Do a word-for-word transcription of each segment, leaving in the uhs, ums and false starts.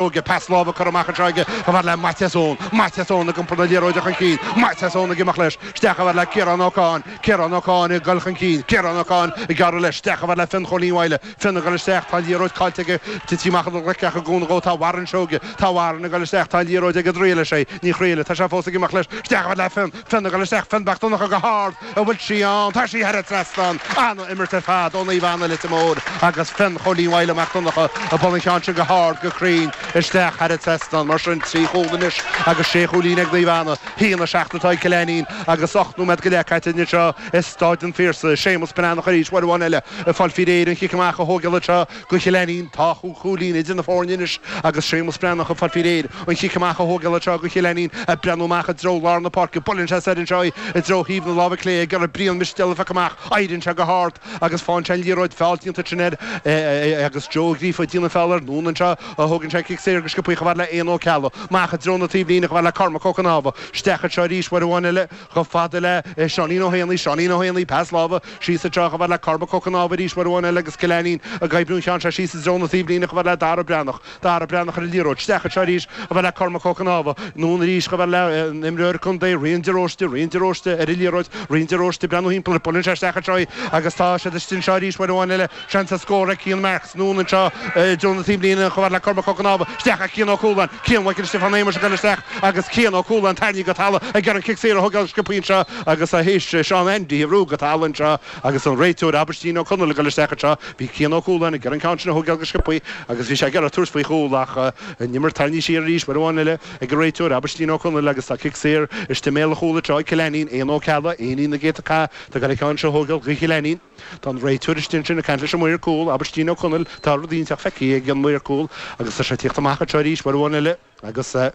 Seoige pas láimhe curtha amach anseo aige chomh fada le Maitias Eoin. Maitias Eoin ag iompar na liathróide chun cinn. Maitias Eoin ag imeacht leis. Isteach chomh fada le Ciarán Ó Cadhain. Ciarán Ó Cadhain ag dul chun cinn. Ciarán Ó Cadhain ag gearradh leis. Isteach chomh fada le Fionn Chóilín Mhaidhle. Fionn ag dul isteach. Tá an liathróid caillte aige. Tití amach an ghleic ach i gcúnamh dhó tá Warren Seoige. Tá Warren ag dul isteach. Tá an liathróid ag an dtriail leis é. Ní chraoladh. Tá sé fós ag imeacht leis. Isteach chomh fada le Fionn. Fionn ag dul isteach. Fionn Mac Donncha go hard. An bhfuil sí ann? Tá sí thar an trasnán. An-imirt ar fad ó Naomh Anna Leitir Móir agus Fionn Chóilín Mhaidhle Mac Donncha ag bualadh an cheann sin go hard, go cruinn. Isteach thar an trasnán. Mar sin, trí chúl anois agus sé chúilín ag Naomh Anna. Haon a seacht atá ag Cill Ainnín agus ocht nóiméad go leith caite anseo i Stáid an Phiarsaigh. Séamus Breathnach arís, uair amháin eile, ag fáil faoi réir an chic amach a thógáil anseo do Chill Ainnín. Tá chúig chúilín idir na foirne anois agus Séamus Breathnach ag fáil faoi réir an chic amach a thógáil anseo do Chill Ainnín. Ag breathnú amach i dtreo lár na páirce. Buaileann sé soir anseo í i dtreo thaobh na láimhe clé ag iarraidh Brian Mistéal a phiocadh amach. Éiríonn sé go hard agus faigheann sé an liathróid. Feall déanta ansin air agus Joe Ó Gríofa ag déanamh feall air. Anonn anseo a thógann sé an cic saor go sciobthaí chomh fada le Éanna Ó Ceallaigh. Amach i dtreo na taobhlíne chomh fada le Cormac Ó Cnámha. Isteach anseo arís uair amháin eile chomh fada le Seáinín Ó hÉanaí. Seáinín Ó hÉanaí, pas láimhe síos anseo chomh fada le Cormac Ó Cnámha arís uair amháin eile agus Cill Ainnín ag oibriú an cheann seo síos i dtreo na taobhlíne chomh fada le Dara Breathnach. Dara Breathnach ar an liathróid. Isteach anseo arís chomh fada le Cormac Ó Cnámha. Anonn arís chomh fada le an imreoir contae Rian de Róiste. Rian de Róiste ar an liathróid. Rian de Róiste ag breathnú thimpeall air. Buaileann sé isteach anseo í agus tá siad istigh anseo arís uair amháin eile. Seans ar scór ag Cian Marks. Anonn anseo i dtreo na taobhlíne chomh fada le Cormac Ó Cnámha. Isteach ag Cian Ó Cualáin. Cian Mhichael Stiofán Shéamuis ag dul isteach agus Cian Ó Cualáin tarraingthe go talamh ag iarraidh an cic saor a thógáil sciobthaí anseo agus é théis Seán Andy a bhrú go talamh anseo agus an réiteoir Aibhistín Ó Conaill ag dul isteach anseo. Bhí Cian Ó Cualáin ag iarraidh an ceann sin a thógáil go sciobthaí agus bhí sé ag iarraidh tabhairt faoi chúl ach an imirt tarraingthe siar arís uair amháin eile ag an réiteoir Aibhistín Ó Conaill agus tá cic saor istigh i mbéal an chúil anseo ag Cill Ainnín. Éanna Ó Ceallaigh, Éinín na gcéadta cath, tá ag dul an ceann seo a thógáil do Chill Ainnín. Tá an réiteoir istigh ansin ag caint leis an maor cúil, Aibhistín Ó Conaill. Tá rud ínteacht feicthe ag an maor cúil agus tá sé ag tíocht amach anseo arís uair amháin eile agus an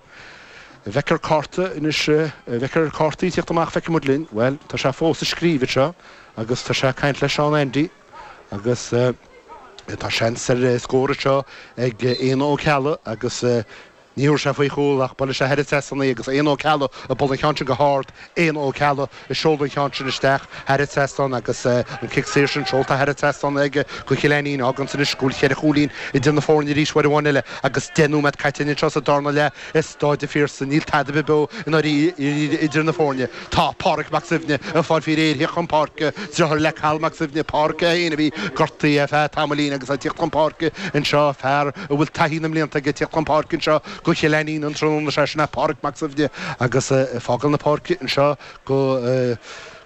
bhfeicfear cárta anois, an bhfeicfear cártaí ag tíocht amach, feicfidh muid linn. Bhuel, tá sé fós ag scríobh anseo agus tá sé ag caint le Seán Andy agus tá seans ar scór anseo ag Éanna Ó Ceallaigh agus Ní thabharfaidh sé faoi chúl ach buailfidh sé thar an trasnán í agus Éanna Ó Ceallaigh ag bualadh an cheann sin go hard, Éanna Ó Ceallaigh ag seoladh an cheann sin isteach thar an trasnán agus an cic saor sin seolta thar an trasnán aige do Chill Ainnín. Fágann sin anois go bhfuil cheithre chúilín idir na foirne arís uair amháin eile agus deich nóiméad caite anseo sa darna leath i Stáid an Phiarsaigh. Níl tada ar bith beo i ndáiríre idir na foirne. Tá Páraic Mac Suibhne ag fáil faoi réir theacht chun páirce, deartháir le Cathal Mac Suibhne, Páraic é féin a bhí gortaithe ar feadh tamaillín agus é ag tíocht chun páirce anseo, fear a bhfuil taithí na mblianta aige ag tíocht chun páirce anseo do Chill Ainnín an tráthnóna seo, sin é Páraic Mac Suibhne agus ag fágáil na páirce anseo do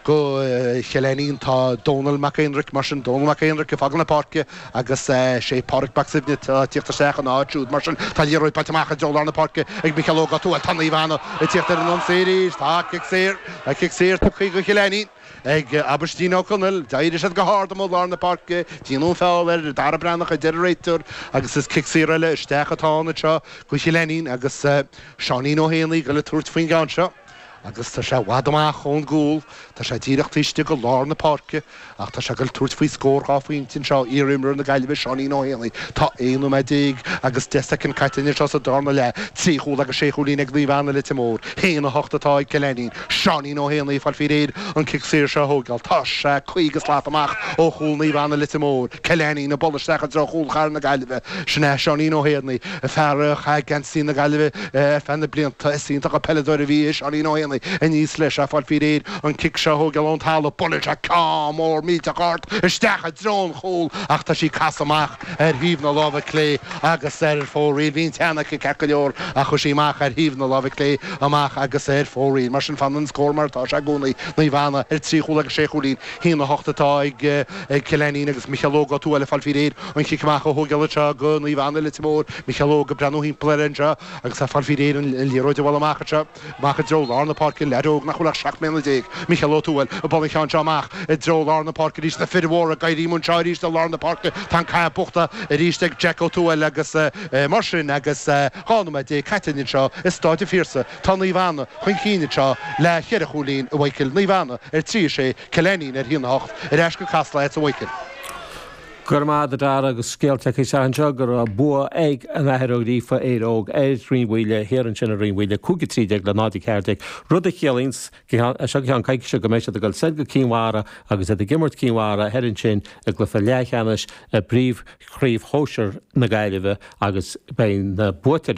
do Chill Ainnín tá Dónal Mac Aonraic, mar sin Dónal Mac Aonraic ag fágáil na páirce agus sé Páraic Mac Suibhne atá ag tíocht isteach ina áit siúd. Mar sin tá an liathróid bainte amach i dtreo lár na páirce ag Micheál Óg Ó Tuathail. Tá Naomh Anna ag tíocht ar an ionsaí arís. Tá cic saor, tá cic saor tugtha do Chill Ainnín ag Aibhistín Ó Conaill. D'éirigh siad go hard amuigh i lár na páirce. Déanadh an feall ar Dara Breathnach a deir an réiteoir agus is cic saor eile isteach atá ann anseo do Chill Ainnín agus Seáinín Ó hÉanaí ag dul ag tabhairt faoin gceann seo. Agus tá sé i bhfad amach ón gcúl, tá sé díreach taobh istigh de lár na páirce, ach tá sé ag dul tabhairt faoi scór dhá phointe anseo, iar-imreoir na Gaillimhe, Seáinín Ó hÉanaí. Tá aon nóiméad déag agus deich soicind caite anseo sa darna leath, trí chúl agus sé chúilín ag Naomh Anna Leitir Móir, haon a hocht atá ag Cill Ainnín. Seáinín Ó hÉanaí ag fáil faoi réir an cic saor seo a thógáil. Tá sé caoga slat amach ó chúl Naomh Anna Leitir Móir. Cill Ainnín ag bualadh isteach i dtreo chúl chathair na Gaillimhe. Sin é Seáinín Ó hÉanaí, fear a chaith geansaí na Gaillimhe ar feadh na blianta. Is iontach an peileadóir a bhí i Seáinín Ó Héanaí. Aníos leis, ag fáil faoi réir an cic seo a thógáil ón talamh. Buaileann sé ceann mór millteach ard isteach i dtreo an chúil ach tá sí casadh amach ar thaobh na láimhe clé agus ar fóraoil. Bhí an ceann aici ceart go leor ach chuaigh sí amach ar thaobh na láimhe clé amach agus ar fóraoil. Mar sin fanann an scór mar atá sé i gcónaí, Naomh Anna ar trí chúl agus sé chúilín. Haon a hocht atá ag Cill Ainnín agus Micheál Óg Ó Tuathail ag fáil faoi réir an chic amach a thógáil anseo do Naomh Anna Leitir Móir. Micheál Óg ag breathnú thimpeall air anseo agus ag fáil faoi réir an liathróid a bhualadh amach anseo, amach i dtreo lár na páirce, leaid óg nach bhfuil ach seacht mbliana déag, Micheál Ó Tuathail, ag bualadh an cheann seo amach i dtreo lár na páirce arís, na fir mhóra ag éirí anseo arís i lár na páirce, tá an cath buachta arís ag Jack Ó Tuathail agus mar sin agus dhá nóiméad déag caite anseo i Stáid an Phiarsaigh, tá Naomh Anna chun cinn anseo le cheithre chúilín, a Mhichíl, Naomh Anna ar trí a sé, Cill Ainnín ar a haon a hocht, ar ais go Casla agatsa a Mhichíl. Gur maith dar agus scéalta anseo go raibh bua ag an Athair Ó Gríofa Éire Óg ar Rinn Mhaoile thiar ansin i Rinn Mhaoile cúig a trí déag le náid a ceathair déag rud a chiallaíonn seo ceann coicíse go mbeidh siad ag dul soir go Cinn Mhara agus iad ag imirt Cinn Mhara thoir ansin i gcluiche leathcheannais i bpríomhchraobh shóisir na Gaillimhe agus beidh na buaiteoirí